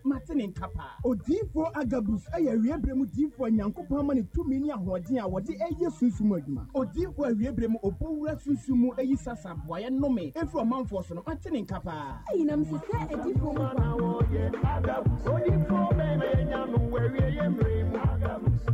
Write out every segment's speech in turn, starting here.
Mate ne nka paa. Odiyifoɔ Agabus yɛ awiei berɛ mu diyifoɔ a Nyankopɔn ama no tumi ne ahoɔden a wɔde reyɛ sunsum mu adwuma. Odiyifoɔ a awiei berɛ mu ɔbɔ wura sunsum mu yi sasa boaeɛ nnome firi ɔmanfoɔ so no, mate ne nka paa. Eyi na mese sɛ adiyifoɔ mu baako. Odiyifoɔ bɛn na yɛanya no wɔ awieeɛ mmerɛ yi mu?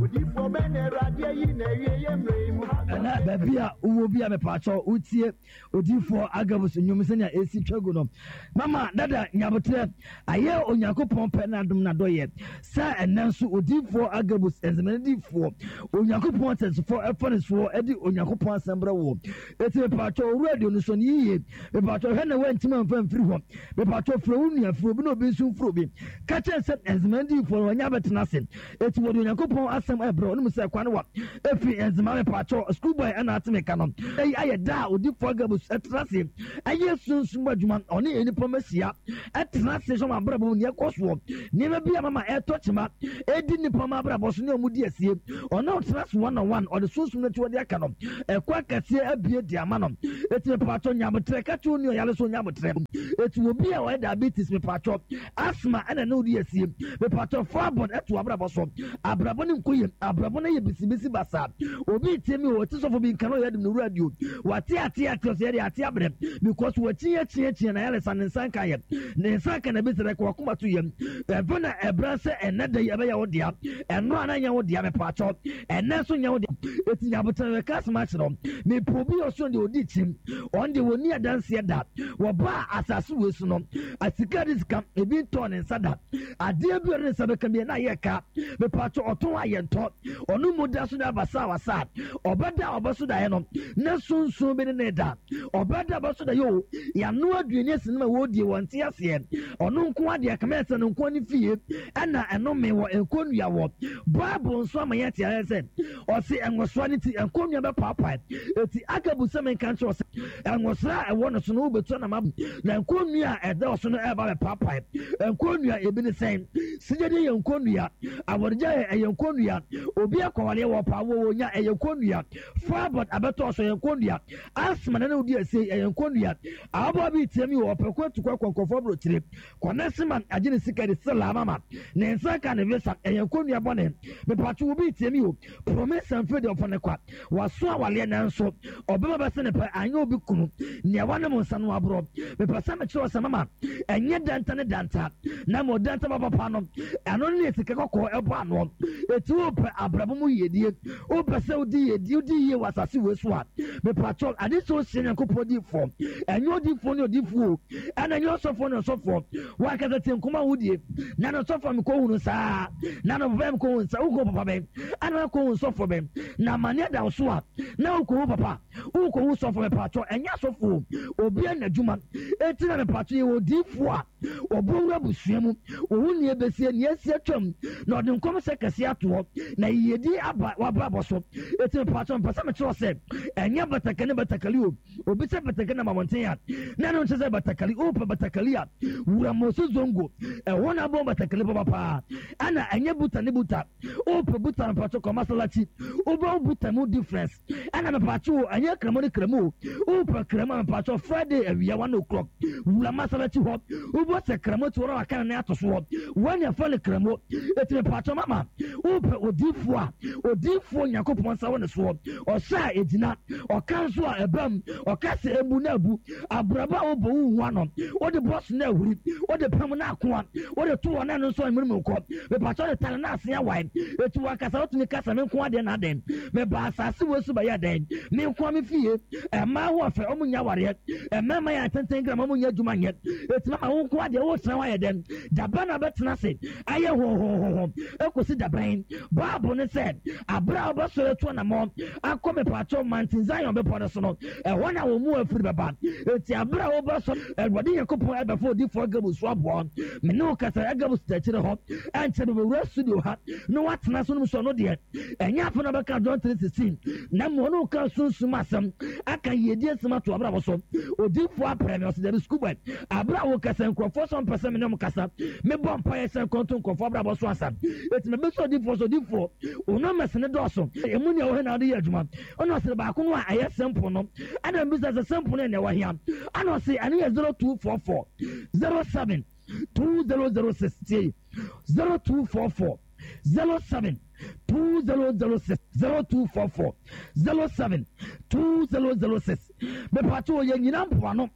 Odiyifoɔ bɛn na Awurade ayi no awieeɛ mmerɛ yi mu? Ɛnɛ baabi a wowɔ bi a mepaakyɛw wotie Odiyifoɔ Agabus nnwom sɛnea ɛsi twa gu no. Mama dada nyaboterɛ ayɛ Onyankopɔn pɛ n'adom n'adɔyɛ sɛ ɛnnɛ nso Odiyifoɔ Agabus nsɛmɛnadifoɔ Onyankopɔn ateasefoɔ ɛfa ne soɔ ɛde Onyankopɔn asɛm brɛ woɔ. Eti mepatwɔ owura aduonu so no yiye. Mepatwɔ hwɛ na woantim amfa mfiri hɔ. Mepatwɔ frɛ wo nua frɛ obi na obi nso mfrɛ obi. Ka kyerɛ sɛ nsɛmɛnadifoɔ no wɔnyɛ abɛtena ase. Eti wɔde Onyankopɔn asɛm ɛbrɛ wo. Wonim sɛ kwan wa efi Nzema mepaakyɛw school boy ɛna ate me ka no. Eyi ayɛ da a odifoɔ Agabus ɛtena ase ɛyɛ sunsum adwuma ɔne nnipa mahyia ɛtena ase hwɛ wɔn abrabɔ mu nea ɛkɔ soɔ nneɛma bi a mama ɛtɔ kyema ɛdi nnipa ma abrabɔ so ne wɔn di asie ɔne ɔtena ase one on one ɔde sunsum no akyiwade aka no ɛkɔ akɛseɛ abie de ama no eti mepaakyɛw nyabotrɛ ka kyerɛ onua ɔyare so nyabotrɛ eti obi a ɔyɛ diabetes mepaakyɛw Asthma ɛna ne wodi asie. Mepatɔ fa abɔn ɛto abrabɔ so. Abrabɔ no nkɔ yie. Abrabɔ no yɛ bisibisi basaa. Obi retie mi o, ɔte sɔfo bi nka na ɔyɛ adim no radio. Wate ate ate ɔsɛ yɛde ate abrɛ. Because wakyi akyi akyi na ayaresa ne nsa nka yɛ. Ne nsa nka na bi sɛ dɛka wakoma to yam. Ɛfɛ na ɛbra sɛ ɛnɛ da yi ɛbɛyɛ wo dea. Ɛno a na nyɛ wo dea mepatɔ. Ɛnɛ nso nyɛ wo dea. Eti nyabotan yɛ ka asɛm akyerɛ wo. Mepɛ obi a ɔsoro deɛ ɔdi kyim. Ɔno deɛ wɔnni adanseɛ da. Wɔbaa asase wei so no, asika de sika ebi ntɔɔ ne nsa da. Adeɛ bi ɔde ne nsa bɛka bi na ayɛ ka. Mepatwo ɔtɔn a yɛntɔ. Ɔno mu da so da basawasa. Ɔbɛda a ɔbɛso daeɛ no, na sunsun bi ne ne da. Ɔbɛda a ɔbɛso daeɛ o, yɛano aduane asi no ma wɔredie wɔnte aseɛ. Ɔno nko adeɛ kama ɛsɛ no nko ne fie ɛna ɛnome wɔ nkonnua wɔ. Bible nso ama yɛte aseɛ sɛ Ɔse ɛngosra no nti nkonnua bɛpaapae. Eti Agabu sɛ menka nkyerɛ wo sɛ ɛngosra a ɛwɔ no so no wobɛtu anam abu, na nkonnua a ɛda so no ɛreba bɛpaapae. Nkonnua ebi ne sɛn? Sigyadi yɛ nkonnua, awɔregya yɛ ɛyɛ nkonnua, obi akɔwareɛ wɔ paa wɔ wɔnya ɛyɛ nkonnua, fibroid abɛtɔ so ɛyɛ nkonnua, asthma na ne wodi asie ɛyɛ nkonnua. Ababaawa bi retia mi wɔ ɔpɛ ko atu kɔ akɔ nkurɔfoɔ aburokyire. Kɔnɛse man agye ne sika de sɛ laa mama ne nsa ka ne visa ɛyɛ nkonnua bɔne mepatwo wo bi tie mi o promise mfe deɛ ɔfɔ ne kwa waso awaleɛ nanso ɔbɛma bɛsɛ ne pɛ anyɛ obi kunu nea wanom nsa no aborɔ mepɛ sɛ mekyerɛ sɛ mama ɛnyɛ danta ne danta na ma ɔdanta ba papa no ɛno ne sika kɔkɔɔ ɛbɔ anoɔ ɛti wopɛ abrabɔ mu yiedie wopɛ sɛ wodi yiedie wodi yie wɔ asase wei so a mepatwo ade sɛ wohyia Nyankopɔn difoɔ ɛnyɛ odifoɔ ne odifoɔ o ɛna nyɛ ɔsɔfoɔ ne ɔsɔfoɔ wankasa tie nkɔmɔ a wodie na no sɔfoɔ mekɔ hunu saa na no papa mekɔ hunu saa wokɔ papa bɛn ɛna wakɔ hunu sɔfoɔ bɛn na amaneɛ da wo so a na wokɔ hu papa wokɔ hu sɔfoɔ mepatwɔ ɛnyɛ asɔfoɔ obi na adwuma eti na mepatwɔ yɛ odiifoɔ a ɔbɔ wura busua mu ohu nea ebesie nea esi atwam na ɔde nkɔm hyɛ kɛse atoɔ na yiyedi aba wabrabɔ so eti mepatwɔ mpɛ sɛ mekyerɛ sɛ ɛnyɛ batakani batakali o Obi sɛ batakari nam abɔnten a, na ɛno nkyerɛ sɛ batakari. Wopɛ batakari a, wura Mose Zongo. Ɛhɔ na abɔ batakari papa paa. Ɛna ɛnyɛ buta ne buta. Wopɛ buta mepatwo kɔ Masalachi. Wobɛhu buta mu difference. Ɛna mepatwo o, ɛnyɛ kramo ne kramo o. Wopɛ kramo a mepatwo Friday awia 1 o'clock. Wura Masalachi hɔ. Wobɔ sɛ kramo ti hɔ na waka ne nan ato soɔ. Wɔn na ɛfrɛ no kramo. Eti mepatwo mama, wopɛ odiifoɔ a, odiifoɔ Nyankopɔn nsa wɔ ne soɔ. Ɔhyɛ a egyina, ɔka nso a ɛbam, ɔka sɛ ebu na abu. Abrabɔ a wobɔ wo hu ano, wode bɔ so na ahuri, wode pam na akoa, wode to hɔ na ɛno nso amunimuni kɔ. Mepakyɛ wode tare na ase awae. Eti wankasa wotumi ka sɛ me nko adeɛ na adɛn? Meba asase wei so bɛyɛ dɛn? Me nko me fie, mmaa ho ɔfɛ, wɔn nyɛ awareɛ, mmarima yɛ atenten gram, wɔn nyɛ adwuma nyɛ. Eti mama wo nko adeɛ wotena hɔ ayɛ dɛn? Dabɛn na bɛtena ase ayɛ hohohoho ekosi dabɛn? Bible no sɛ, Bere a wobɛsɔre atu anammɔn akɔ mepaakyɛw Mountain Zion bepɔ no so no, ɛhɔ na wɔn mu afiri bɛba. Enti bere a wobɛsɔre, Awurade Nyankopɔn ɛbɛfa odiyifoɔ Agabus so aboa wo. Me ne wo kasa, Agabus da akyire hɔ. Ɛnkyɛ bɛbɛwura studio ha na watena so nom so ɔno deɛ, ɛnyɛ afei na ɔbɛka John 3:16, na mmom ɔne wo ka sunsum asɛm, aka yiedie nsɛm ato abrabɔ so. Odiyifoɔ aprɛ me, ɔse dabi school boy, bere a wokasa nkurɔfoɔ sɛ ɔmpɛ sɛ me ne wɔn kasa, mebɔ mpaeɛ sɛ nkɔnto nkurɔfoɔ abrabɔ so asa. Enti mebisa odiyifoɔ sɛ, Odiyifoɔ, wo numbers no dɔɔso, emu nea ɛwɔ he na wode yɛ adwuma? Ɛna ɔse, Baako no a ɛyɛ simple no. Ɛna mebisa sɛ, Simple no yɛ nea ɛwɔ he a? Ɛna ɔse, Ɛno yɛ 0244 07. 2006 tie 0244 07 2006 0244 07 2006 mepatwo yɛ nyina mpoano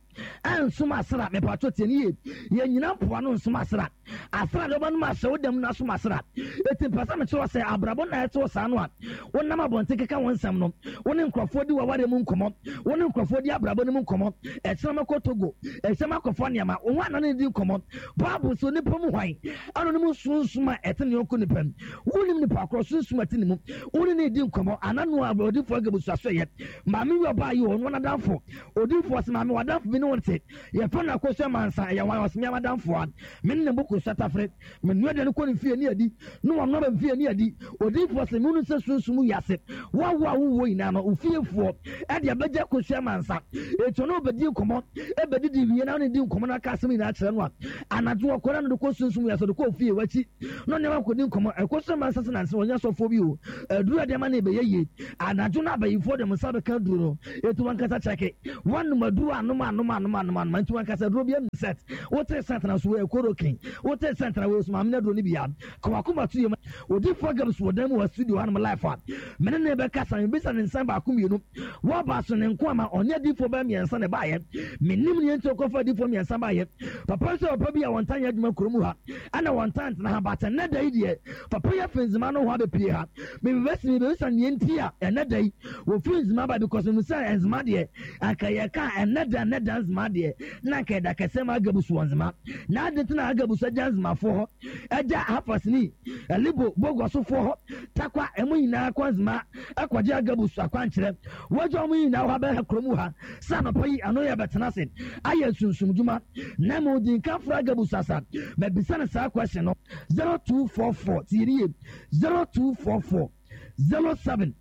ɛnsom asra mepatwo tie ne yie yɛ nyina mpoano nsom asra asra de wobɛnom ahyɛ wo dam no asom asra ɛti mpɛ sɛ mekyerɛ sɛ abrabɔ na ɛte wɔ saa no a wonam abɔnten keka wo nsɛm no wo ne nkurɔfoɔ di w'awareɛ mu nkɔmmɔ wo ne nkurɔfoɔ di abrabɔ no mu nkɔmmɔ ɛkyerɛ makɔ Togo ɛkyerɛ makɔfa nneɛma wo ho ana ne di nkɔmmɔ Bible sɛ onipa mu hwan ano no mu sunsum a ɛte ne yɔnko nipa mu wonim nipa korɔ sunsum a ɛte ne mu wo ne ne di nkɔmmɔ ana no a odifoɔ agabusu aso yɛ maame wi ɔbaa yi ɔno nadamfo odifoɔ sɛ maame wadamfo bi ne wo te yɛfɛ no akosua mansa ɛyɛ wan ɔsɛ mea madamfo a me ne ne bo kosua tafere Menoa aduane kɔ ne fie ne adi, na wanoa aba me fie ne adi. Odiyifoɔ se, Mehunu sɛ sunsum wiase, wo a wo a wowɔ nyinaa no, wo fiefoɔ de abɛgya kosua amansa. Enti ɔne wo bɛdi nkɔmmɔ, bɛdidi wie na wone di nkɔmmɔ na aka asɛm nyinaa kyerɛ no a, anadwo ɔkɔ na no de kɔ sunsum wiase, ɔde kɔ ofie w'akyi na ɔne wakɔdi nkɔmmɔ. Ɛkosua amansa se nansa ɔnyɛ sɔfoɔ bi o, aduru a ɛde ama no ɛbɛyɛ yie. Anadwo no abayifoɔ de wɔn nsa bɛka aduro no, enti wankasa kyɛke. Woanom aduro anom anom anom anom anom, enti wankasa aduro bi set. Wote set na so wɔ ɛkorokin. Wote sɛ ntena wei so maame no aduro no bi a, ka w'akoma to yam. Odiyifoɔ Gabs wɔ dan mu wɔ studio hanom live a, me ne no bɛkasa, mebisa no nsɛm baako mmienu. Woaba so ne nko ama ɔne adiyifoɔ bɛyɛ mmiɛnsa na ɛbaeɛ. Mennim nea nti ɔkɔfa adiyifoɔ mmiɛnsa baeɛ. Papa nso yɛ papa bi a wɔntaa nyɛ adwuma kurom ha, ɛna wɔntaa ntena ha, but ɛnnɛ da yi deɛ, papa yi afi Nzema nohoa abɛpue ha. Mebɛsi mebɛbisa nea nti a ɛnnɛ da yi wɔfiri Nzema ba because menim sɛ Nzema deɛ, anka yɛka ɛnnɛ da ɛnnɛ da Nzema deɛ, na anka ɛda kɛseɛ ma Agabus wɔ Nzema. Na adɛn nti na Agabus agya Nzemafoɔ hɔ, agya Hafasni, Elibo, Boguasofoɔ hɔ, Takwa, ɛmo nyinaa kɔ Nzema ɛkɔgye Agabus akwankyerɛ. Wagya wɔn nyinaa hɔ abɛha kurom ha sɛ anɔpa yi ano yɛ bɛtena ase ayɛ sunsumdwuma. Na mmom di nka frɛ Agabus asa mabisa no saa question no. 0244 tie nie 0244 07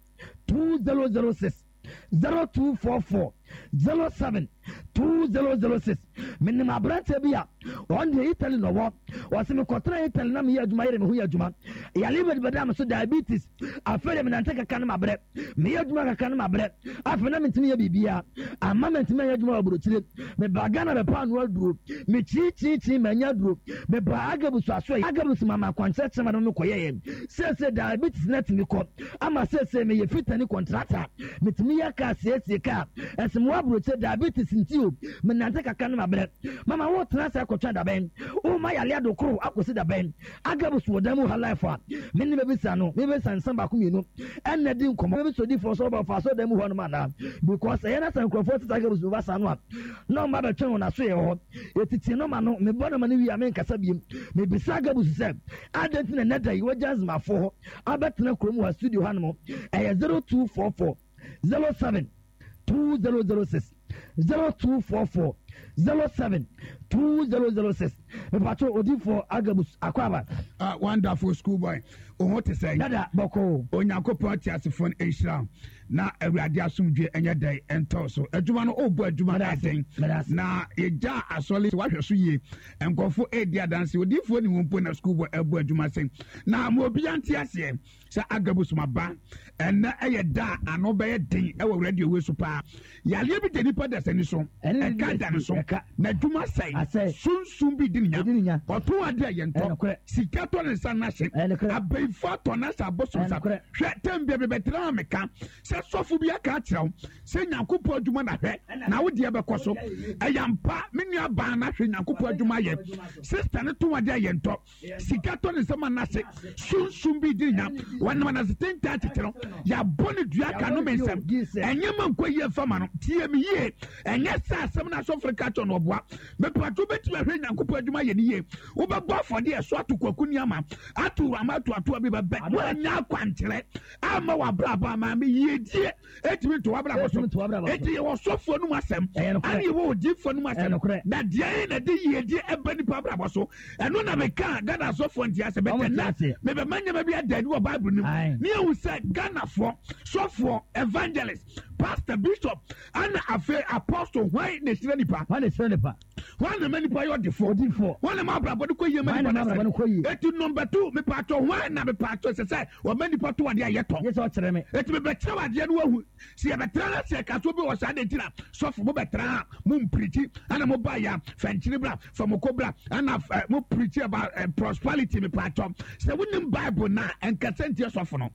2006 0244 07 2006 Menim aberanteɛ bi a ɔno deɛ Italy na ɔwɔ. Ɔse mekɔtena Italy na meyɛ adwuma yere me ho yɛ adwuma. Yare bɛda me so diabetes. Afei deɛ menante kakra no mabrɛ. Meyɛ adwuma kakra no mabrɛ. Afei na mentumi yɛ biribiara. Amma mentumi anyɛ adwuma wɔ aburokyire. Mebaa Ghana bɛpɛ ano aduro. Mekyiikyiikyii manya aduro. Mebaa Agabus asoɛeɛ. Agabus maa me akwankyerɛ kyerɛ ma me mekɔyɛeɛ. Seesei diabetes no atumi kɔ ama seesei meyɛ fitani kɔntrata. Metumi yɛ kaa siesie kaa. Ɛsɛ mewɔ aburokyire diabetes nti o. Menante kakra no mabrɛ. Mama wotena ase akɔtwɛn dabɛn? Woma yare adokoro akɔsi dabɛn? Agabus wɔ dan mu ha life a me ne bɛbisa no mebɛbisa nsɛm baako mmienu ɛna di nkɔmmɔ mebɛbisa odifoɔ sɛ ɔba ɔfa asɔredan mu hɔ nom anaa because ɛyɛ na sɛ nkurɔfoɔ tete Agabus bɛba saa no a na ɔma bɛtwɛn wɔn aso yɛ hɔ yɛtete no ma no mebɔ no ma no wie a menkasa biem mebisa Agabus sɛ adɛn nti na ɛnɛ da yi wagya nzemafoɔ hɔ abɛtena kurom wɔ studio ha nom ɛyɛ 0244 07 2006 0244 07 2006 mepatwo odifoɔ Agabus Akwaaba. Uh, wonderful school boy wo te sɛn dada bɔkɔɔ Onyankopɔn te asefoɔ no nhyira na awurade asomdwe ɛnyɛ dɛn ɛntɔw so adwuma no ɔbɔ adwuma ɛden na yɛgya asɔre wahwɛ so yie nkɔfo ɛredi adanse odiifoɔ ne ho mpo na school boy ɛbɔ adwuma sɛn na ma obiara nte aseɛ Sɛ Agabus ma ba ɛnɛ ɛyɛ da a ano bɛyɛ den ɛwɔ radio wei so paa. Yareɛ bi da nipa dasani so, ɛka da ne so, n'adwuma sɛe, sunsum bi di ne nya, ɔtɔn adeɛ a yɛntɔ, sika tɔ ne nsa n'ahye, abayifo atɔ n'ahyɛ abosom sa. Hwɛ tɛm bia bɛbɛtena ha meka sɛ sɔfo bi aka akyerɛ wo sɛ Nyankopɔn adwuma na hwɛ na wo deɛ bɛkɔ so. Ɛyɛ ampa me nua baa na hwɛ Nyankopɔn adwuma yɛ. Sister no tɔn adeɛ a yɛntɔ. Sika tɔ ne nsam anase sunsum bi di nya wɔnam anase tenten tete no yɛabɔ ne dua ka no me nsɛm ɛnyɛ ma nkɔ yie mfa ma no tie me yie ɛnyɛ sɛ asɛm no asɔfo ka kyɛ no ɔboa mepatwo bɛtumi ahwɛ Nyankopɔn adwuma yɛ ne yie wobɛbɔ afɔdeɛ ɛso ato kwaku nneɛma ato wurama ato atoa bi bɛbɛ woanya akwankyerɛ ama w'abrabɔ ama me yiedie Etumi nto w'abrabɔ so. Eti yɛwɔ sɔfoɔ no mu asɛm, ɛne yɛwɔ odiifoɔ no mu asɛm. Na deɛ na de yiedie ɛba nipa abrabɔ so. Ɛno na meka Ghana asɔfoɔ nti asɛ bɛtɛ na mebɛma nneɛma bi ada adi wɔ Bible no mu. Ne yɛhu sɛ Ghanafoɔ, sɔfoɔ, evangelist, Pastor, bishop, ɛna afei apostle, hwan na ɛhyira nipa? Hwan na ɛhyira nipa? Hwan na ma nipa yɛ ɔdefoɔ? Odifoɔ. Hwan na ma abrabɔ no kɔ yie ma Hwan nipa na ma abrabɔ no kɔ yie? Eti number 2, mepatɔ hwan na mepatɔ sɛ sɛ ɔma nipa to adeɛ a yɛtɔ? Yɛ sɛ ɔkyerɛ me. Eti mebɛkyerɛ wo adeɛ no wahu. Sɛ yɛbɛtena na sɛ ɛka so bi wɔ saa de nti na sɔfo mobɛtena ha mo mpirikyi ɛna mo ba ya fɛnkyere bra fɛmoko bra ɛna mo pirikyi about prosperity mepatɔ. Sɛ wonim Bible na ɛnkasa ntia sɔfo no.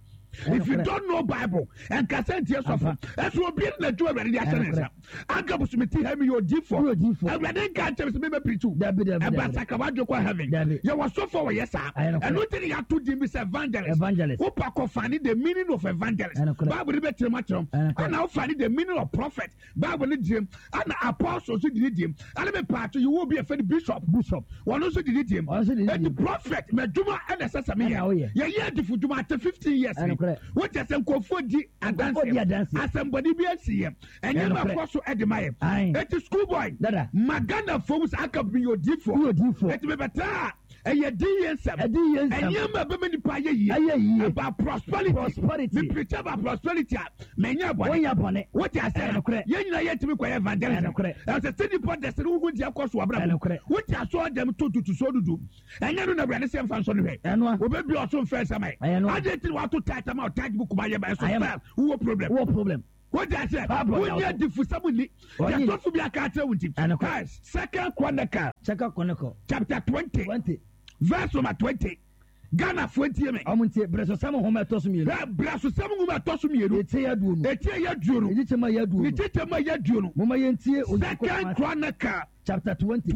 If you don't know Bible, and kasɛ ntie sɔfo, ɛso obi na adwuma Awurade de ahyɛ ne nsa. Agabus mi ti ha mi yɛ odiifo. Awurade nka nkyɛn sɛ mebɛ pirikyi. Ɛba sakra wadwe kɔ heaven. Yɛwɔ sɔfo a wɔyɛ saa. Ɛno nti ne yɛato din bi sɛ evangelist. Wopa kɔ find the meaning of evangelist. Bible ne bɛkyerɛ mu akyerɛ wo. Ɛna wo find the meaning of prophet. Bible ne gyem. Ɛna apostle nso di ne gyem. Ɛna me paato yɛwɔ obi a yɛfrɛ no bishop. Bishop. Wɔn nso di ne gyem. Ɛti prophet mɛdwuma ɛna ɛsɛ sɛ meyɛ. Yɛyɛ adifo dwuma ate 15 years ni. Wokyɛ sɛ nkurɔfoɔ di adanseɛ. Asɛmbɔne bi asi yɛ. Ɛnyɛ ma kɔ so ɛde ma yɛ. Ɛti school boy. Ma Ghana fam sɛ aka bi yɛ odiifoɔ. Ɛti mebɛtaa ɛyɛ di yie nsɛm. Ɛnyɛ ma bɛma nipa ayɛ yie. About prosperity. Prosperity. Me preach about prosperity a mɛnyɛ bɔne. Wote aseɛ na yɛn nyinaa yɛntumi kɔyɛ evangelism. Ɛsɛ sɛ nipa dɛsɛ no wohu deɛ kɔ so abrabɔ. Wote asoɔ dɛm to tutu so dudu. Ɛnyɛ no na Awurade sɛ mfa nsɔ no hwɛ. Obebi ɔso mfɛ nsɛm ayɛ. Adeɛ ti na wato tight ama ɔtight book ma yɛ ba ɛso fɛ wowɔ problem. Wowɔ problem. Wote aseɛ wonyɛ adifusɛm nni. Yɛtɔfo bi aka akyerɛ wo nti. Second Chronicle. Second Chronicle. Chapter 20. Verse number 20. Ghana fo ntie me. Ɔmo ntie brɛsosɛm nhoma ɛtɔ so mmienu. Brɛsosɛm nhoma ɛtɔ so mmienu. Eti yɛ aduonu. Eti yɛ aduonu. Ne kyekyɛ mu yɛ aduonu. Ne kyekyɛ mu yɛ aduonu. Moma yɛn tie Onyankopɔn Second Chronicle. Chapter 20.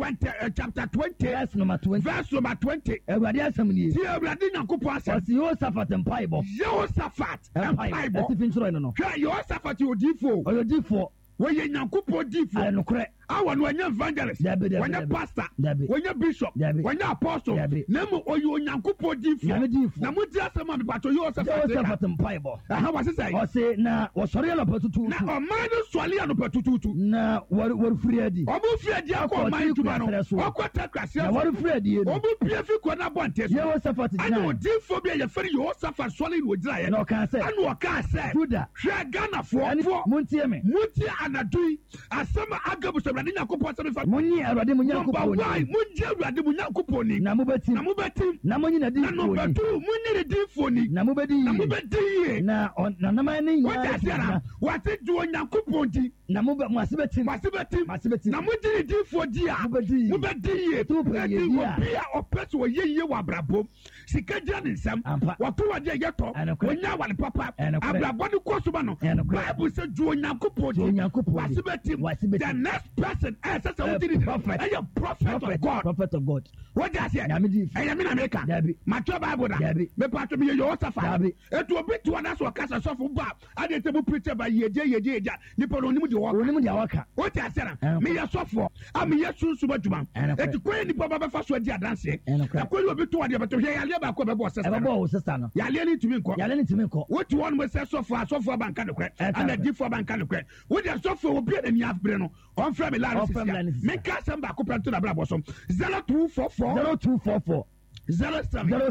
Chapter 20. Verse number 20. Verse number 20. Awurade asɛm nie. Tie Awurade Nyankopɔn asɛm. Ɔsi Yehosafat mpaebɔ. Yehosafat mpaebɔ. Atifi nkyerɛ no no. Hwɛ Yehosafat yɛ odiifoɔ. Ɔyɛ odiifoɔ. Wɔyɛ Nyankopɔn diifoɔ. Ayɛ nokorɛ. A wɔn wɔnyɛ evangelist. Dabi dabi. Wɔnyɛ pastor. Dabi. Wɔnyɛ bishop. Dabi. Wɔnyɛ apostle. Dabi. Na mmom ɔyɛ Onyankopɔn diifoɔ. Nyame diifoɔ. Na mo di asɛm a mepatɔ Yehosafat. Yehosafat mpaebɔ. Ɛha wɔse sɛ. Ɔse na wɔsɔre anɔpa tutuutu. Na ɔman no sɔre anɔpa tutuutu. Na wɔrefiri adi. Wɔn firi adi akɔ ɔman adwuma no. Wɔkɔ Tekra serɛ so. Na wɔrefiri adi no. Wɔn pue fi kuro no abɔnten so. Yehosafat gyinae. Ɛna odiifoɔ bi a yɛfrɛ no Yehosafat sɔre na ɔgyinaeɛ. Na ɔkaa sɛ. Ɛna ɔkaa sɛ. Juda. Hwɛ Ghanafoɔ. Montie me. Montie anadwo yi asɛm a Agabus Awurade Nyankopɔn sɛ mefa. Monye Awurade mo Nyankopɔn ni. Number 1, mongye Awurade mo Nyankopɔn ni. Na mobɛtim. Na mobɛtim. Na monye n'adiyifoɔ ni. Na number 2, monye ne diyifoɔ ni. Na mobɛdi yie. Na mobɛdi yie. Na n'anaman ne nyinaa Wote aseɛ na? Wɔate gye Onyankopɔn di. Na mo mo ase bɛtim. Mo ase bɛtim. Mo ase bɛtim. Na mogye ne diyifoɔ di a. Mobɛdi yie. Mobɛdi yie. Ɛti wopɛ yie di a. Obi a ɔpɛ sɛ ɔyɛ yie wɔ abrabɔ mu. Sika gyina ne nsam. Wɔto adeɛ yɛtɔ. Wɔnya awale papa. Abrabɔ no kɔ so ma no. Bible sɛ gye Onyankopɔn di. Wase bɛtim. The next person ɛsɛ sɛ wogye ne di ɛyɛ prophet of God. Prophet of God. Wogye aseɛ. Ɛyɛ me na meka. Matwerɛ Bible da. Mepatwo meyɛ Yehosafat. Etu obi to ɔda so ɔkasa sɔfo ba ade nti mo preacher ba yiedie yiedie yiedie nipa no onim deɛ ɔka. Onim deɛ ɔka. Wote aseɛ na meyɛ sɔfoɔ a meyɛ sunsum adwuma. Eti kwan yɛ nipa ba bɛfa so adi adanseɛ. Ɛkwan yɛ obi to adeɛ bɛtɔ hwɛ yareɛ baako a ɛbɛbɔ ɔsista no. Ɛbɛbɔ ɔsista no. Yareɛ no ntumi nkɔ. Yareɛ no ntumi nkɔ. Wote hɔ nom sɛ sɔfoɔ asɔfoɔ aba nka nokorɛ. Ɛna adiifoɔ aba nka nokorɛ. Wo deɛ sɔfoɔ obi a n'ani abere no ɔmfrɛ me line sisi a. Menka asɛm baako pɛ nto n'abrabɔ so. 0244. 0244. 07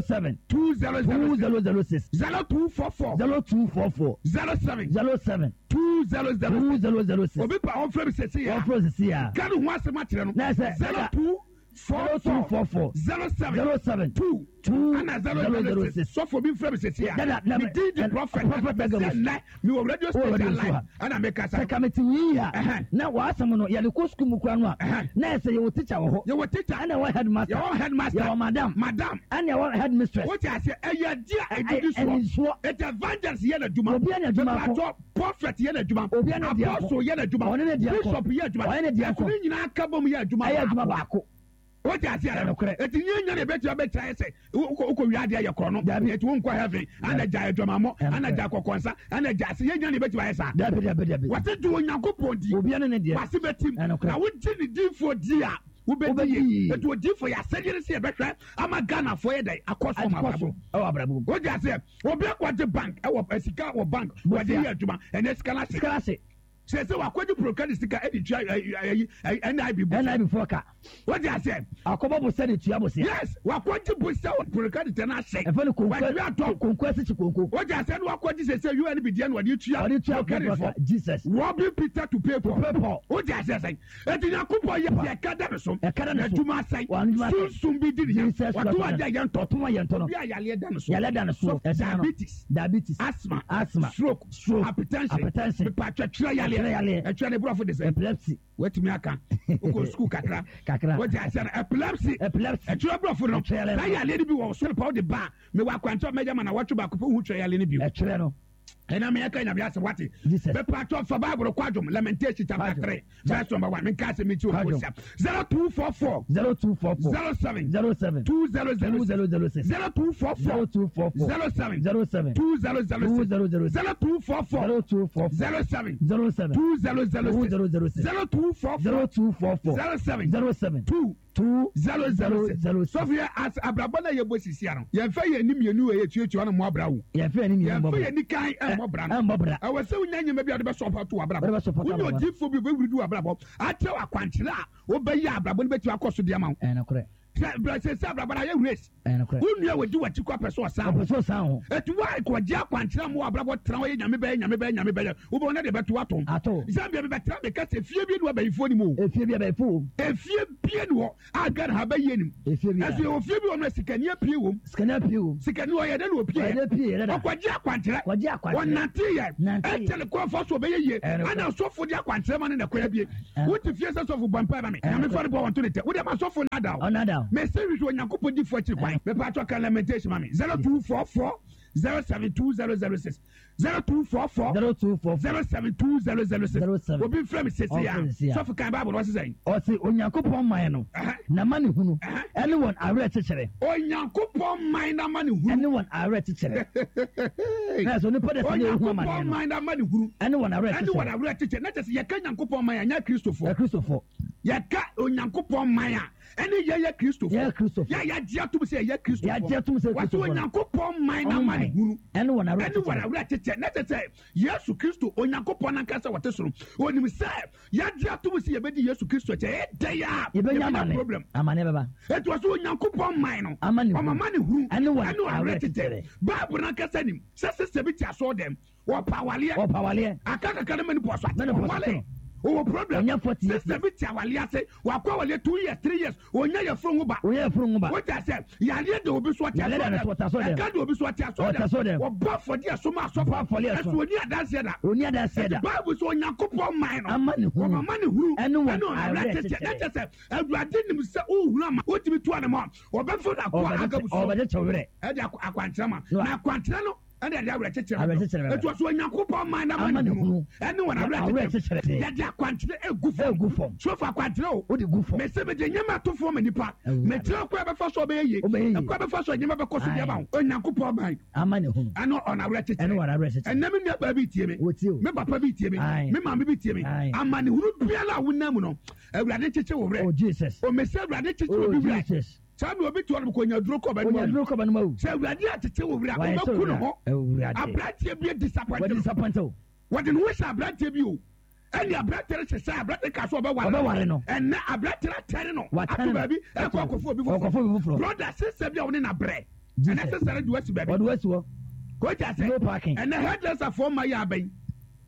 07 2006 2006 0244 0244 07 07 2006 2006 obi pa ɔmfrɛ mi sɛsi ya ɔmfrɛ sɛsi ya ka ne ho asɛm akyerɛ no na sɛ 0244 0244 07 07 2 2 ana 006 sɔfo bi mfrɛ mi sɛsi ya Dada, me din di prophet Prophet sɛ Agabus. nnɛ mewɔ radio Wɔ station radio so live ha. ɛna mekasa Sɛ kamete wii a Ɛhɛn. na w'asɛm no yɛde kɔ sukuu mu kora no a Ɛhɛn. na ɛsɛ yɛwɔ teacher wɔ hɔ yɛwɔ teacher ɛna ɛwɔ headmaster yɛwɔ headmaster yɛwɔ madam madam ɛna ɛwɔ headmistress wote aseɛ ɛyɛ adeɛ a ɛdidi Ɛni soɔ soɔ. ɛti evangelist yɛ n'adwuma Obi yɛ n'adwuma ko. Mepatɔ prophet yɛ n'adwuma Obi yɛ n'adeɛ ko. apostle yɛ n'adwuma Ɔne n'adeɛ ko. bishop yɛ adwuma Ɔne n'adeɛ ɛso ko. ne nyinaa ka bom yɛ adwuma ɛyɛ adwuma baako wote aseɛ Ɛyɛ nokorɛ. ɛti nyɛ nya na ɛbɛtumi abɛkyerɛ ayɛ sɛ wokɔ wia adeɛ yɛ korɔ no Dabi. ɛti wonkɔ heaven ana gya adwamammɔ Ɛyɛ ana nokorɛ. gya kɔkɔnsa ana gya ase yɛ nya na ɛbɛtumi ayɛ saa dabi dabi dabi wɔse gye Onyankopɔn di obi ne ne deɛ wase bɛtim Ɛyɛ nokorɛ. na wogye ne difoɔ di a wobɛdi Wobɛdi yie yie. ɛti odifoɔ yɛ asɛdeɛ no sɛ yɛbɛhwɛ ama Ghanafoɔ yɛ dɛn akɔ so ma akɔ abrabɔ so ɛwɔ abrabɔ mu wogye aseɛ obi akɔgye bank ɛwɔ sika wɔ bank wɔde yɛ adwuma ɛnɛ sika no ahye sika ase. Sɛ sɛ wakɔgye prokadi sika ɛde tua ɛyi NIB bo. NIB foɔ ka. Wọ́n ti ase. Akɔbɔ bosɛ de tua bosea. Yes, wakɔgye bosɛ wɔ prokadi tɛ n'ahyɛ. Ɛfɛ ni konko Wàtí atɔ. Konko ɛsisi konko. Wọ́n ti ase ni wakɔgye sɛ sɛ UNB deɛ na ɔde tua. Ɔde tua prokadi foɔ. Jesus. Robbing Peter to pay Paul. To pay Paul. Wọ́n ti ase sɛ. Eti Nyankopɔn yɛ deɛ ɛka da ne so. Ɛka da ne so. N'adwuma asɛe. W'adwuma asɛe. Sunsum bi di ne nya. Jesus Wɔto Christ. adeɛ a yɛntɔ. Wɔto a yɛntɔ no. Obi a yareɛ da ne so. Yareɛ da ne so. Ɛsan no. Diabetes. Diabetes. Asthma. Asthma. Stroke. Stroke. Hypertension. Hypertension. Mepatwa twerɛ yareɛ. Twerɛ yareɛ. Ɛtwerɛ ne borɔfo de sɛ. Epilepsy. Watumi aka. Wokɔ sukuu kakra. Kakra. Wɔte aseɛ no. Epilepsy. Epilepsy. Ɛtwerɛ borɔfo no. Ɛtwerɛ yareɛ no. Saa yareɛ no bi wɔ so pa wode ba a, mewɔ akwankyerɛ a mɛyɛ ma na wɔtwe baako pɛ wohu twerɛ yareɛ no bio. Ɛtwerɛ no. Ɛna meyɛ ka nyame asɛm wate. Mepatwɔ fa Bible kɔ adwom Lamentation chapter 3 verse number 1. Menka asɛm nti wɔ sia. 0244 0244 07 07 2006 2006 0244 0244 07 07 2006 2006 0244 0244 07 07 2006 2006 0244 0244 07 07 2 2 0 0 0 6. Sɔfo yɛ as abrabɔ na yɛbɔ sisi ano. Yɛmfa yɛn ani mmienu wɔ yɛtuatua no mmɔ abra wo. Yɛmfa yɛn ani mmienu mmɔ Yɛmfa bra. yɛn ani kan mmɔ bra no. Ɛmmɔ bra. Ɛwɔ sɛ wonya nneɛma bi a wode bɛsɔpɔto w'abrabɔ. Wode bɛsɔpɔto Wonya abrabɔ. odiyifoɔ bi a ɔbɛwuri di w'abrabɔ akyerɛ wo akwankyerɛ a wobɛyɛ a abrabɔ no bɛtumi akɔ so de ama wo. Ɛyɛ nokorɛ. Sɛ brɛ sɛ sɛ abrabɔ no ayɛ race. Ɛyɛ nokorɛ. Wo nua wɔdi w'akyi kɔ apɛ sɛ ɔsan Ɔpɛ sɛ ɔsan ho. Eti wo a kɔgye akwankyerɛ ama w'abrabɔ tena hɔ yɛ nyame bɛyɛ nyame bɛyɛ nyame bɛyɛ wobɛwɔ na de bɛto atom. Ato. Zambia mebɛtena meka sɛ efie bi ne abayifoɔ nim o. Efie bi abayifoɔ wom. Efie bie ne hɔ a Ghana ha bɛyie nim. Efie bi a. Ɛso yɛwɔ fie bi wɔ no a sikani apue wom. Sikani apue wom. Sikani ɔyɛ dɛ na opie Ɔyɛ dɛ pie yɛ dɛ da. Ɔkɔgye akwankyerɛ. Kɔgye akwankyerɛ. Ɔnante yɛ. Nante yɛ. Ɛkyɛ ne kɔn fa so ɔbɛyɛ yie. Ɛyɛ nokorɛ. Ɛna sɔfo de akwankyerɛ ma no na ɛkɔ abie. Ɛyɛ Wote fie sɛ sɔfo bɔ mpae ma me. Ɛyɛ Nyame nokorɛ. fa no bɔ wɔn to ne tɛ. Wode ma sɔfo nada o. Ɔnada o. Mese hwehwɛ Onyankopɔn difoɔ akyiri kwan. Mepatwɔ ka lamentation ma me. 0244 072006 0244 0244 072006 07 Obi mfrɛ me sese Ɔmfrɛ a. me sese a. Sɔfo kan Bible no ɔse sɛn? Ɔse Onyankopɔn man no Ɛhɛ. n'amanehunu Ɛhɛ. ɛne wɔn awerɛkyekyerɛ. Onyankopɔn man n'amanehunu. Ɛne wɔn awerɛkyekyerɛ. Na sɛ onipa de sɛ ne ehu Onyankopɔn amaneɛ no. man n'amanehunu. Ɛne wɔn Ɛne wɔn awerɛkyekyerɛ. awerɛkyekyerɛ. Na kyerɛ sɛ yɛka Nyankopɔn man a, ɛnyɛ Kristofoɔ. Akristofoɔ. Yɛka Onyankopɔn man a, ɛne yɛyɛ Kristofoɔ. Yɛyɛ Kristofoɔ. Yɛ yɛagye atom sɛ yɛyɛ Kristofoɔ. Yɛagye atom sɛ Wɔse Kristofoɔ no. Onyankopɔn man Ɔmo man. n'amanehunu. Ɛne wɔn Ɛne wɔn awerɛkyekyerɛ. awerɛkyekyerɛ. Na kyerɛ sɛ Yesu Kristo, Onyankopɔn ankasa wɔte soro, onim sɛ yɛagye atom sɛ yɛbɛdi Yesu Kristo akyi. Ɛyɛ dɛn a Yɛbɛnya yɛbɛnya amane. problem. Amane bɛba. Enti wɔse Onyankopɔn man no, Amanehunu. ɔma amanehunu Ɛne wɔn ɛne wɔn awerɛkyekyerɛ. awerɛkyekyerɛ. Bible no ankasa nim sɛ sista bi te asɔɔdɛm, wɔpa awaleɛ. Wɔpa awaleɛ. Aka kakra no ma ne pɔ so ate. Ma ne pɔ so Ɔnwale. ate no. Ɔwɔ problem. Ɔnya 40 years. Sista bi te awaleɛ ase, wakɔ awaleɛ 2 years, 3 years, ɔnya yafunu ho ba. Ɔnya yafunu ho ba. Wote aseɛ? Yareɛ da obi so ɔte Yareɛ da ne so, ɔte asɔɔdɛm. asɔɔdɛm. Ɛka da obi so ɔte Ɔte asɔɔdɛm. asɔɔdɛm. Wɔbɔ afɔdeɛ so ma asɔfo. Bɔ afɔdeɛ so. Ɛso ɔni adanseɛ da. Ɔni adanseɛ da. Enti Bible sɛ Onyankopɔn man no, Ama ne hunu. wɔma ma ne hunu. Ɛne wɔn Ɛne wɔn awerɛkyekyerɛ. awerɛkyekyerɛ. Na kyerɛ sɛ Awurade nim sɛ wohunu ama wotumi tu anamɔ a, wɔbɛfa no akoa Agabus so. Ɔbɛkyekyɛ wo werɛ. Ɛde akwankyerɛ ma. Na Na akwankyerɛ no ɛne ɛde awerɛkyekyerɛ Awerɛkyekyerɛ bɛba. Ɛti ɔsɛ Onyankopɔn man no Ama ama ne ne hunu hunu. ɛne wɔn Na awerɛkyekyerɛ. awerɛkyekyerɛ. Yɛde akwankyerɛ egu fam. Egu fam. Sofo akwankyerɛ o. Wode gu fam. Mese mede nneɛma ato fam ma nipa. Awurade. Mekyerɛ kwan a ɛbɛfa so a ɔbɛyɛ yie. Ɔbɛyɛ yie. Ɛkwan a ɛbɛfa so a nneɛma bɛkɔ so de ama Aye. wo. Onyankopɔn man Ama ne hunu. ɛne wɔn awerɛkyekyerɛ. Ɛne wɔn awerɛkyekyerɛ. Ɛnnɛ me nua baa bi tie me. Wɔtie o. Me papa bi tie me. Aye. Me maame bi tie me. Aye. Amanehunu biara a wonam mu no, Awurade nkyekye wo werɛ. Oh Jesus. O mese Awurade nkyekye Oh obi werɛ. Jesus. Saa na obi te hɔ nom kɔ nya duro kɔ ɔbɛnum Onya awu. duro kɔ ɔbɛnum awu. Sɛ Awurade akyekye wo werɛ a, Wayɛ sɛ wobɛku ne owura. ho. Awurade. Aberanteɛ bi disappoint Wɔde no. disappoint o. Wɔde ne ho hyɛ aberanteɛ bi o. Ɛne aberanteɛ no hyehyɛ aberanteɛ ka so ɔbɛware Ɔbɛware no. Ɛnɛ aberanteɛ no atɛne no. Watɛne Ato no. baabi ɛkɔ akɔfo obi foforɔ. Ɔkɔfo obi foforɔ. Brother, sister bi a wo ne na brɛ. Jesus. Ɛnɛ sister no de wasi baabi. Wɔde wasi hɔ. Kogya sɛ. No parking. Ɛnɛ hairdresser foɔ ma yɛ abɛn.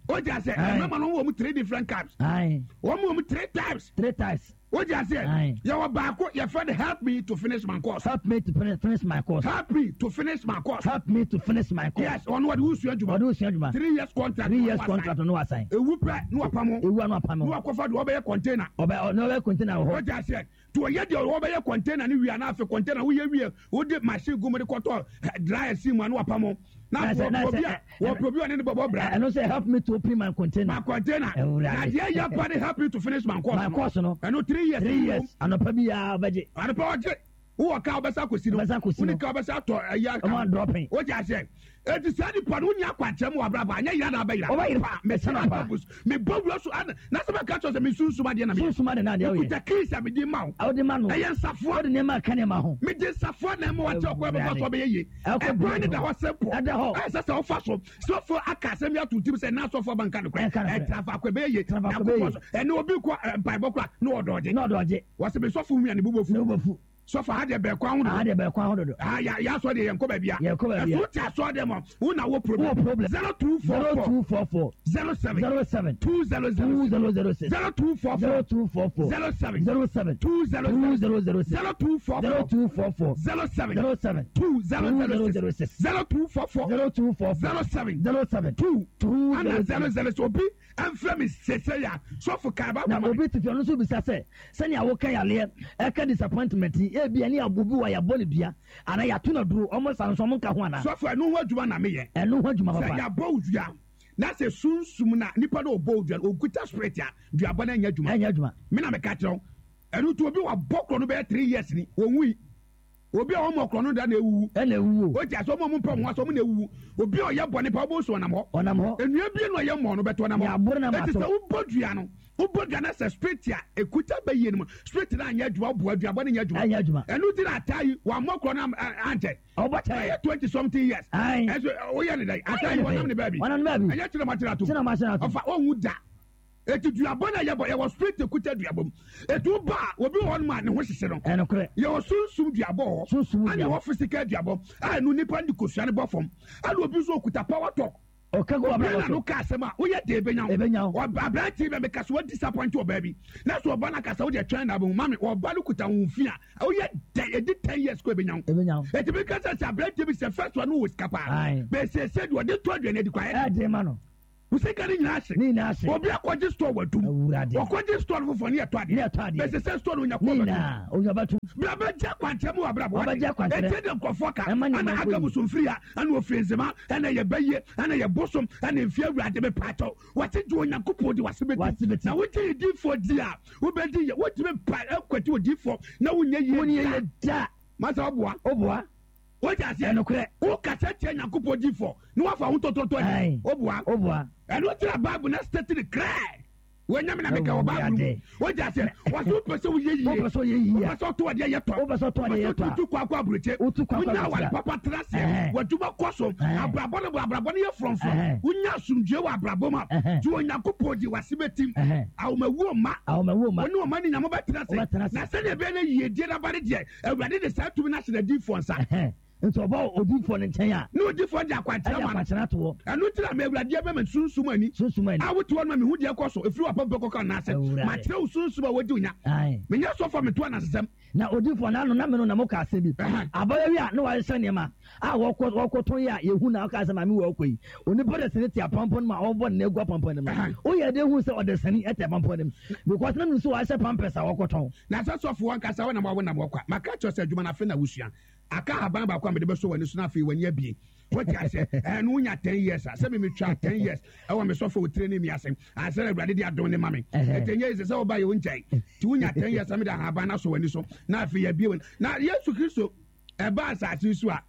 Kogya sɛ. Aye. Ɛmɛma no wɔn mu 3 different types. Aye. Wɔn mu wɔn 3 types. 3 types. Wogye aseɛ? Aye. Yɛwɔ baako yɛfrɛ no help me to finish my course. Help me to finish my course. Help me to finish my course. Help me to finish my course. Yes, ɔno wɔde wosua adwuma. Ɔde wosua adwuma. 3 years contract. 3 years contract ɔno wasan. Ewu pɛ ne wapam ho. Ewu ano apam ho. Ne wakɔfa deɛ ɔbɛyɛ container. Ɔbɛ ɔno ɔbɛyɛ container wɔ hɔ. Wogye aseɛ? Nti ɔyɛ deɛ ɔbɛyɛ container no wie a na afei container woyɛ wie wode machine gu mu de kɔtɔ dryer si mu a na wapam ho. Na wɔpɛ obi a wɔpɛ obi a ɔne ne bɔbɔ bra. Ɛno sɛ help me to open my container. My container. Na deɛ yɛ pa ne help me to finish my course. My course no. Ɛno 3 years. 3 years. Anɔpa bi ya ɔbɛgye. Anɔpa ɔgye. Wowɔ kaa wobɛsa akɔsi no. Wobɛsa akɔsi no. Wone kaa wobɛsa atɔ ɛyi aka. Ɔmo adrɔpen. Wote aseɛ? Eti saa nipa no wonni akwankyerɛ mu wɔ abrabɔ anyɛ yera na abɛyera. Ɔbɛyera. Pa mɛsɛ Ɛsɛ pa. Agabus. Mebɔ wura so ana na sɛ mɛka kyerɛ sɛ me sunsum adeɛ na meyɛ. Sunsum ade na adeɛ woyɛ. Mekuta keys a mede ma wo. Wode ma no. Ɛyɛ nsafoa. Wode nneɛma aka nneɛma ho. Mede nsafoa na ɛma wakyɛ ɔkwan bɛfa so ɔbɛyɛ yie. Ɛkɔ Ɛkwan no da hɔ simple. Ɛda hɔ. Ɛsɛ sɛ wofa so. Sɔfo aka asɛm yi ato tirim sɛ na asɔfo aba nka nokorɛ. Ɛnka nokorɛ. Ɛtra faako ɛbɛyɛ yie. Tra faako ɛbɛyɛ Nyankopɔn so. Ɛne obi kɔ mpaebɔ koraa na ɔdɔɔgye. Na ɔdɔɔgye. Wɔsɛ me sɔfo hu a ne bo bɛfu. Ne bo bɛfu. Sɔfo aha deɛ bɛɛ kwan ho dodo. Aha deɛ bɛɛ kwan ho dodo. Ah ya ya asɔ deɛ yɛn kɔ baabi a. Yɛn kɔ baabi a. Ɛso te asɔ deɛ ma wo na wo problem. Wo problem. 0244. 0244. 07. 07. 2006. 2006. 0244. 0244. 07. 07. 2006. 2006. 0244. 0244. 07. 07. 2006. 0244. 0244. 07. 07. 2. 2. Ana 00 obi ɛnfrɛ me sese ya sɔfo kan ba Na obi te fie ɔno nso bisa sɛ sɛnea woka yareɛ ɛka disappointment yi ebi ɛne abo bi wɔ yɛabɔ no dua anaa yɛato no aduro ɔmo nsa nso ɔmo nka ho anaa. Sɔfo ɛno ho adwuma na meyɛ. Ɛno ho adwuma papa. Sɛ yɛabɔ wo dua na sɛ sunsum na nipa na ɔbɔ wo dua no ɔkuta spirit a duabɔ no ɛnyɛ adwuma. Ɛnyɛ adwuma. Me na meka kyerɛ wo ɛno nti obi wabɔ korɔ no bɛyɛ 3 years ni ɔnwui. Obi a ɔmmɔ korɔ no da na ewuwu. Ɛna ewuwu. O ti ase ɔmo a ɔmo mpɛ ɔmo ho ase ɔmo na ewuwu. Obi a ɔyɛ bɔne pa ɔbɔ nsu ɔnam hɔ. Ɔnam hɔ. Nnua bie na ɔyɛ mmɔɔ no bɛtɔ ɔnam hɔ. Yɛaboro na Eti mato. sɛ wobɔ dua no, wobɔ dua no sɛ spirit a ekuta bɛyie no mu. Spirit no anyɛ adwuma, woboa duabɔ no nyɛ adwuma. Ɛnyɛ adwuma. Ɛno ti na ataa yi, wammɔ korɔ no ankyɛ. Ɔbɔ kyɛ. Ɛyɛ 20 something years. Ayi. Ɛnso woyɛ ne dɛn? Ataa yi wɔnam ne baabi. Wɔnam ne baabi. Ɛnyɛ kyerɛ ma kyerɛ atom. Kyerɛ ma kyerɛ atom. Ɔfa ɔnwu da. Eti duabɔ na yɛbɔ yɛwɔ spirit ekuta duabɔ mu. Etu ba a obi wɔ hɔ nom a ne ho hyehye no. Ɛnokorɛ. Yɛwɔ sunsum duabɔ wɔ hɔ. Sunsum Ɛna duabɔ. yɛwɔ physical duabɔ a ɛno nipa de kosua no bɔ fam. Ɛna obi nso okuta power talk. Ɔka gu Obi abrabɔ na no so. ka asɛm a woyɛ de ebenya wo. Ebenya wo. Ɔba aberante bɛ meka so wa disappoint ɔbaa bi. Na so ɔba no akasa wo deɛ twɛn na abɛhu mame ɔba no kuta wo fi a woyɛ dɛ edi 10 years kɔ ebenya wo. Ebenya wo. Eti mi kasa sɛ aberante bi sɛ first one no wɔ sika paa. Aye. Bɛsɛsɛ deɛ ɔde to aduane adi kɔ ayɛ. Ɛden ma no. Wo sika no nyinaa hye. Ne nyinaa hye. Obi akɔgye store wadum. Awurade. Ɔkɔgye store no foforɔ ne yɛtɔ adeɛ. Ne yɛtɔ adeɛ. Bɛsɛ sɛ store no onya Ne kɔ bɛtum. nyinaa onya bɛtum. Bra bɛgye akwankyerɛ mu wɔ abrabɔ. Ɔbɛgye akwankyerɛ. Ɛkyɛ de nkurɔfoɔ ka. Ɛma nneɛma Ɛna nkɔ aka yie. bosomfiri ha. Ɛna ofiri nzema. Ɛna yɛ bɛyie. Ɛna yɛ bosom. Ɛna mfie awurade mepaakyɛw. Wɔte gye Onyankopɔn di wase Wase bɛti. bɛti. Na wogye odiifoɔ di a wobɛdi yɛ. Wotumi pa ɛkwati odiifoɔ na wonyɛ yie Wonyɛ da. yie da. Masa ɔboa. Oboa. Wogye aseɛ. Ɛnokorɛ. Wokasa tia Nyankopɔn diifoɔ na wafa wo ntɔtɔtɔ Aye. adi. Oboa. Oboa. Ɛno kyerɛ Bible na state no clear. Wɔnyɛ me na meka wɔ Bible mu. Awurade. Wogye aseɛ. Wɔsɛ wopɛ sɛ woyɛ yie. Wopɛ sɛ woyɛ yie a. Wopɛ sɛ ɔto adeɛ yɛ tɔ. Wopɛ sɛ ɔtɔ adeɛ yɛ tɔ a. Wopɛ sɛ wotu kɔ akɔ aburokye. Wotu kɔ akɔ Wonya aburokye aware a. papa tena aseɛ. Ɛhɛn. W'adwuma kɔ so. Ɛhɛn. Abrabɔ no abrabɔ no yɛ frɔmfrɔm. Ɛhɛn. Wonya asomdwoe wɔ abrabɔ mu a. Ɛhɛn. Gye Onyankopɔn di w'ase bɛtim. Ɛhɛn. Awomawuo mma. Awomawuo mma. Wɔne ɔma ne nyame bɛtena ase. Wɔbɛtena ase. Na sɛdeɛ ɛbɛyɛ na yiedie no aba no deɛ, Awurade de saa tumi no ahyɛ n'adiyifoɔ nsa. Ɛhɛn. Nti ɔba odiyifoɔ no nkyɛn a. Na odiyifoɔ de akwankyerɛ Ɛde ma no. akwankyerɛ ato hɔ. Ɛno nti na me Awurade abɛma sunsum ani. Sunsum ani. A wote hɔ no ma mehu deɛ ɛkɔ so, ɛfiri w'apampam kɔka wo nan ase. Awurade. Makyerɛ wo sunsum a wɔdi wo nya. Ae. Menyɛ sɔfo a meto anansesɛm. Na odiyifoɔ no ano na me no na moka asɛm bi. Ɛhɛn. Abaayewa yi a na wahyehyɛ nneɛma a wɔkɔ wɔkɔtɔn yi a yɛhu na ɔka sɛ maame wɔ ɔkɔ yi. Onipa desani te apampam no mu a ɔrebɔ ne nan agu apampam no mu. Ɛhɛn. Woyɛ dɛn hu sɛ ɔdesani te apampam no mu? Because na menim sɛ wahyehyɛ pampers a wɔkɔtɔn. Na sɛ sɔfo ankasa wonam a wonam hɔ kwa. Maka akyerɛ wo sɛ adwuma no afei na wosua. Aka ahaban baako a mede bɛsɔ w'ani so na afei w'ani abue. Wote aseɛ? Ɛɛ no wonya 10 years a, sɛ me metwa 10 years ɛwɔ me sɔfo otire ne mi ase. Ansa na Awurade de adom ne ma me. Ɛhɛn. Ɛnti ɛnyɛ sɛ sɛ woba yɛ wo nkyɛn. Nti wonya 10 years a mede ahaban no asɔ w'ani so na afei yɛabue w'ani. Na Yesu Kristo ɛba asase so a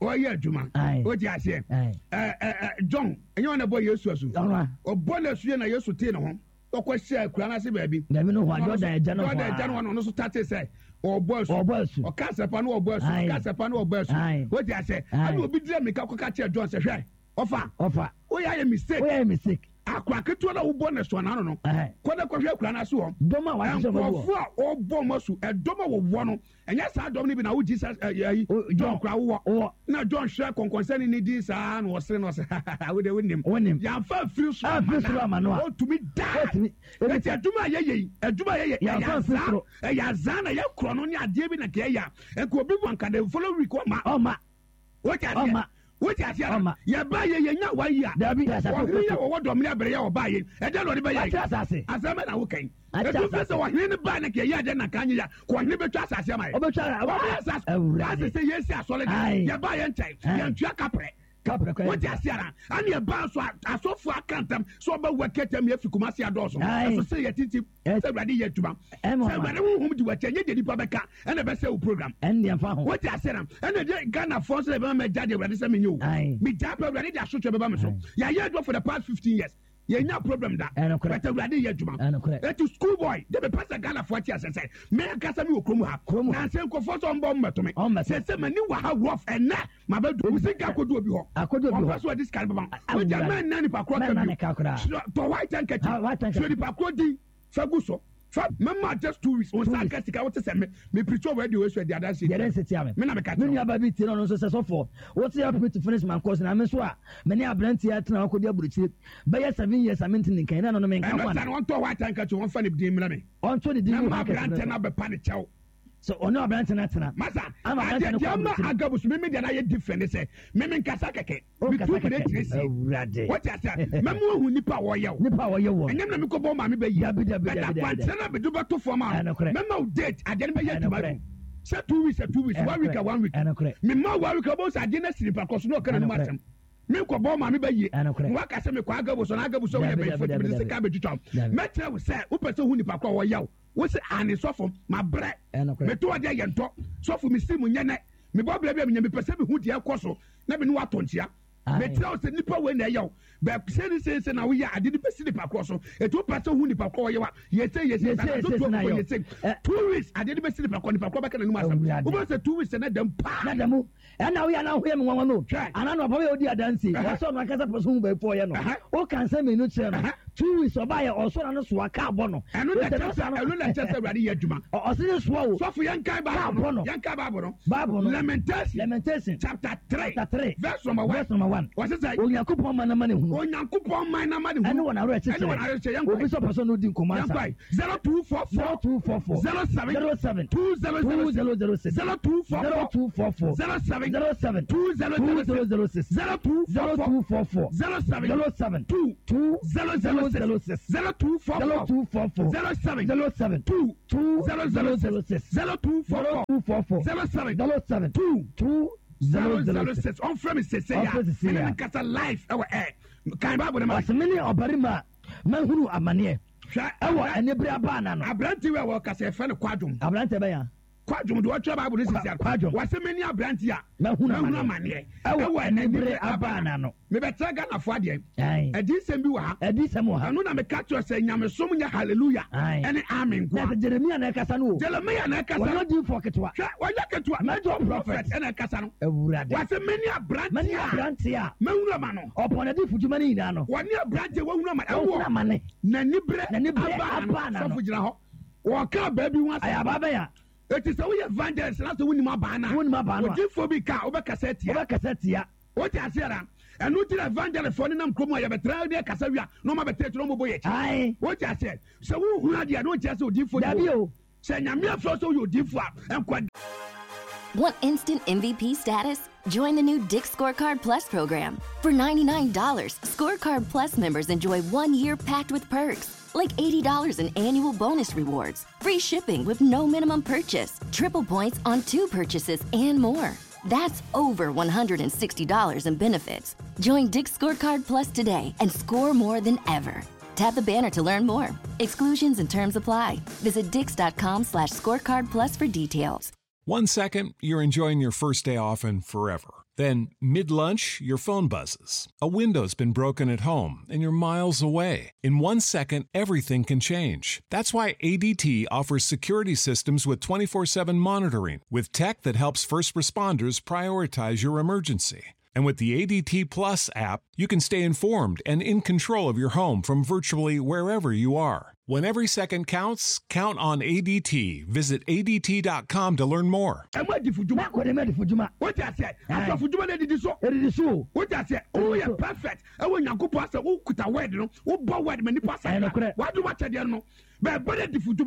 ɔyɛ adwuma. Aye. Wote aseɛ? Aye. Ɛ ɛ ɛ John, ɛnyɛ ɔna ɛbɔ Yesu asu. Ɔno a. Ɔbɔ no asu yɛ na Yesu tee ne ho. Ɔkɔ hyia akura no ase baabi. Dabi no hɔ a, Jordan agya no hɔ a. Jordan agya no hɔ na ɔno nso tate sɛ ɔbɔ asu. Ɔbɔ asu. Ɔka asɛmpa no ɔbɔ asu. Aye. Ɔka asɛmpa no ɔbɔ asu. Aye. Wote aseɛ? Aye. Ɛna obi gyina mirika kɔka kyerɛ John sɛ hwɛ, ɔfa. Ɔfa. Woyɛ ayɛ mistake. Woyɛ ayɛ mistake. Akora ketewa no a wobɔ no asu anaa no no. Ɛhɛn. Kɔ na kɔhwɛ akura no ase hɔ. Dɔm a wɔahyehyɛ wɔn agu hɔ. Nkurɔfoɔ a ɔbɔ wɔn asu, ɛdɔm a wɔwɔ no, ɛnyɛ saa dɔm no bi na wo Jesus ɛyi eh, eh, John kora wowɔ. Wowɔ. Na John hwɛ kɔnkɔnsɛne ne din saa na ɔsere na ɔsɛ wo de wonim. Wonim. Yɛamfa mfiri soro Amfiri soro ama no a. Ɔtumi daa. Ɔtumi. Eti adwuma a yɛyɛ yi, adwuma a yɛyɛ, ɛyɛ Yɛamfa mfiri azaa, soro. ɛyɛ azaa na yɛkorɔ no ne adeɛ bi na nka yɛyɛ a, nka obi bu anka the following week ɔma. Ɔma. Wote aseɛ? Ɔma. Wote aseɛ? Ɔma. Yɛba yɛ yɛnya one year. Dabi. Asase Ɔhene yɛ wɔwɔ dɔm ne abere yɛ ɔbaa yɛ. Ɛdɛ na ɔde bɛyɛ. Wakyɛ asase. Asɛm bɛ na woka yi. Akyɛ Etu fɛ asase. sɛ ɔhene no baa ne ka yɛ adeɛ na ka nye ya. Kɔ ɔhene bɛtwa asase ama yɛ. Ɔbɛtwa. Ɔbɛyɛ asase. Awurade. Ase sɛ yɛsi asɔre Aye. de. Yɛba yɛ nkyɛn. Aye. Yɛntua kaprɛ. Kaprɛ Wote ase ara ɛne ɛbaa so asɔfoɔ aka ntam sɛ ɔbɛwu akɛtɛ mi afi Kumasi adɔɔso. Ɛso sɛ yɛ tintim sɛ Awurade yɛ adwuma. Sɛ Awurade honhom di w'akyi ɛnyɛ deɛ nipa bɛka ɛna ɛbɛsɛ wo program. Wote ase ara ɛna deɛ Ghanafoɔ nso na ɛbɛma magya deɛ Awurade sɛ menyɛ o. Megya pɛ Awurade de asotwe bɛba me so. Yɛayɛ adwuma for the past 15 years. Yɛnya problem da. But Awurade yɛ adwuma. Eti school boy de mepɛ sɛ Ghanafoɔ te ase sɛ me ankasa me wɔ kurom ha. Nansa nkurɔfoɔ sɛ ɔmbɔ mmɛto me. Sɛ m'ani wɔ ha rough ɛnɛ mabɛdu. Wo sika akɔdu obi hɔ. Ɔmpɛ sɛ ɔde sika no bɛma wo. Wogya mɛnna nipa korɔ ka bio. Tɔ white handkerchief. Twerɛ nipa korɔ din fa gu so. Fa mɛma just 2 weeks. Wo nsa nka sika wote sɛ me me preach wɔ radio wei so adi adanseɛ tia me. Me na meka kyerɛ wo. Me nuabaa bi tie na ɔno nso sɛ sɔfoɔ. Wote help me to finish my course na me nso a me ne aberanteɛ atena hɔ akɔdi aburokyire bɛyɛ 7 years a mente ne nkan na ɛno no menka ho ana? Ɛno saa no ɔntɔ white handkerchief ɔmfa ne din mmrɛ me. Ɔnto ne din ngu handkerchief no so. Mɛma aberanteɛ no abɛpa ne kyɛw. Sɛ ɔne aberanteɛ no atena. Masa, Ama aberanteɛ adeɛ no deɛ kɔ ama aburokyire. Agabus me me deɛ no ayɛ different ne sɛ me menkasa kɛkɛ. Wonkasa Metu mene kɛkɛ. kyerɛ sie. Awurade. Wote aseɛ? Mɛma woahu nipa a wɔyɛ wo. Nipa a wɔyɛ wɔ. Ɛnyɛ me na mekɔbɔ wo maame bɛyie. Dabi, dabi, But dabi, dabi, akwankyerɛ no a mede bɛto fam a no, Ɛnokorɛ. mɛma wo date, adeɛ no bɛyɛ adwuma Ɛnokorɛ. du. Sɛ 2 weeks a 2 weeks, one week a Ɛnokorɛ. one week. Ɛnokorɛ. Mema wo one week a wobɛhu sɛ adeɛ no asi nipa korɔ so na ɔka n'anom Ɛnokorɛ. asɛm. Menkɔbɔ wo maame bɛyie. Ɛnokorɛ. Na woaka sɛ mekɔ Agabus anaa Agabus sɛ woyɛ Dabi, bɛyifoɔ dabi, nti mede dabi, sika abɛtwitwa wo. Dabi. Mɛkyerɛ wo sɛ wopɛ sɛ wohu nipa korɔ a wɔyɛ wo. Wo se aane sɔfo, mabrɛ. Ɛnokorɛ. Meto adeɛ yɛ ntɔ. Sɔfo mesi mu nyɛ nɛ. Mebɔ brɛ bi a menya mepɛ sɛ mehu deɛ ɛkɔ so na me ne wo atɔ nkyea. Mekyerɛ wo sɛ nipa wei na ɛyɛ wo. Bɛ sei ne sei sei na woyɛ ade no bɛsi nipa korɔ so. Eti wopɛ sɛ wohu nipa korɔ ɔyɛ wo a, yɛ sei yɛ sei Yɛ sei, saa yɛ na sei to na akokɔ yɛ yɛ sei. 2 weeks adeɛ no bɛsi nipa korɔ, nipa korɔ bɛka n'anom asɛm. Awurade. Wobɛhu sɛ 2 weeks na dɛm paa. Na dɛm ɛna woyɛ na woyɛ me nwanwa no. Hwɛ. Ana no papa yɛ odi adansi. Ɔsɛ ɔno ankasa pɛ so hu baabi ɔyɛ no. Woka nsɛm mmienu kyerɛ no. 2 weeks ɔbaayɛ ɔsɔ na no soa kaa bɔ no. Ɛno na ɛkyerɛ sɛ ɛno na ɛkyerɛ sɛ Awurade yɛ adwuma. Ɔse ne soa o. Sɔfo yɛn kan Kaa Bible bɔ no. no. Yɛn kan Bible no. Bible no. Lamentation. Lamentation. Chapter 3. Chapter 3. Verse number 1. Verse number 1. Wɔse sɛ Onyankopɔn ma n'ama ne hunu. Onyankopɔn man na ma ne hunu. Ɛne wɔn awerɛkyekyerɛ. Ɛne wɔn awerɛkyekyerɛ. Yɛn Obi kwan. sɛ ɔpɛ sɛ ɔno di nkɔmmɔ Yɛn ansa. kwan. 0244 0244 07 07 2006 2006 0244 0244 07 07 2006 2006 0244 0244 07 07 2 2 0 0 6 006 0244 0244 07 07 2 2 0 0 6 006 0244 0244 07 07 2 2 0 0 0 0 6. 6. Ɔmfrɛ me sese ya. Ɔmfrɛ sese Mene ya. me nkasa live ɛwɔ ɛ. Kan Bible no ma. Ɔsɛ me ne ɔbarima a mahunu amanneɛ Hwɛ ɛwɔ anibere abaa na no. Aberante wei a wɔkasa yɛfrɛ no Kwadwom. Aberante bɛn a? Kwadwom deɛ ɔtwerɛ Bible no sisi a. Kwadwom. Wɔsɛ me ne aberante a Mahunu mahunu amanneɛ amanneɛ ɛwɔ anibere abaa na no. Mebɛkyerɛ Ghanafoɔ adeɛ. Ae. Adiyisɛm bi wɔ ha. Adiyisɛm wɔ ha. Ɛno na meka kyerɛ sɛ nyamesom nyɛ hallelujah Ae. ɛne amen Na nkoa. sɛ Jeremia na ɛkasa no o. Jeremia na ɛkasa Wɔnyɛ no. odiyifoɔ ketewa. Hwɛ, wɔnyɛ ketewa. Major prophet. Ɛna ɛkasa no. Awurade. Wɔsɛ me ne aberante Mene a aberante a mahunu ama no. ɔpɔn n'adifudwuma no nyinaa no. Wɔne aberante a wahunu ama Wahunu ɛwɔ amane. n'aniberɛ N'aniberɛ abaa abaa n'ano. n'ano. Sɔfo gyina hɔ. Wɔka abaa bi ho Ɛyɛ asɛm. abaa bɛn a? Eti sɛ woyɛ evangelist na sɛ wonim abaa no a, Wonim abaa no a. odiyifoɔ bi ka a, wobɛkasa atia. Wobɛkasa tia. Wote aseɛ ra? Ɛno nti na evangelistfoɔ nenam kurom a yɛbɛtra ne ɛkasa wie a na ɔma bɛtena akyire na ɔmɔbɔ yɛ akyi. Ae. Wote aseɛ? Sɛ wohunu adeɛ a na wonkyerɛ sɛ odiyifoɔ ni Dabi hɔ. o. Sɛ Nyame afrɛ wo sɛ woyɛ odiyifoɔ a, nkɔ Want instant MVP status? Join the new Dick's Scorecard Plus program. For $99, Scorecard Plus members enjoy 1 year packed with perks, like $80 in annual bonus rewards, free shipping with no minimum purchase, triple points on two purchases, and more. That's over $160 in benefits. Join Dick's Scorecard Plus today and score more than ever. Tap the banner to learn more. Exclusions and terms apply. Visit dicks.com/scorecard plus for details. 1 second, you're enjoying your first day off and forever. Then, mid lunch, your phone buzzes. A window's been broken at home and you're miles away. In 1 second, everything can change. That's why ADT offers security systems with 24/7 monitoring, with tech that helps first responders prioritize your emergency. And with the ADT Plus app, you can stay informed and in control of your home from virtually wherever you are. When every second counts, count on ADT. Visit ADT.com to learn more. Ɛmu adifudwuma. Mɛkɔ ne mu adifudwuma. Wote aseɛ? Asɔfodwuma no adidi so. Ɛdidi so o. Wote aseɛ? Woyɛ perfect ɛwɔ Nyankopɔn asɛ wokita word no, wobɔ word ma nipa Ɛyɛ asakra. nokorɛ. W'adom akyɛdeɛ no bɛɛbɔ no adifudwuma.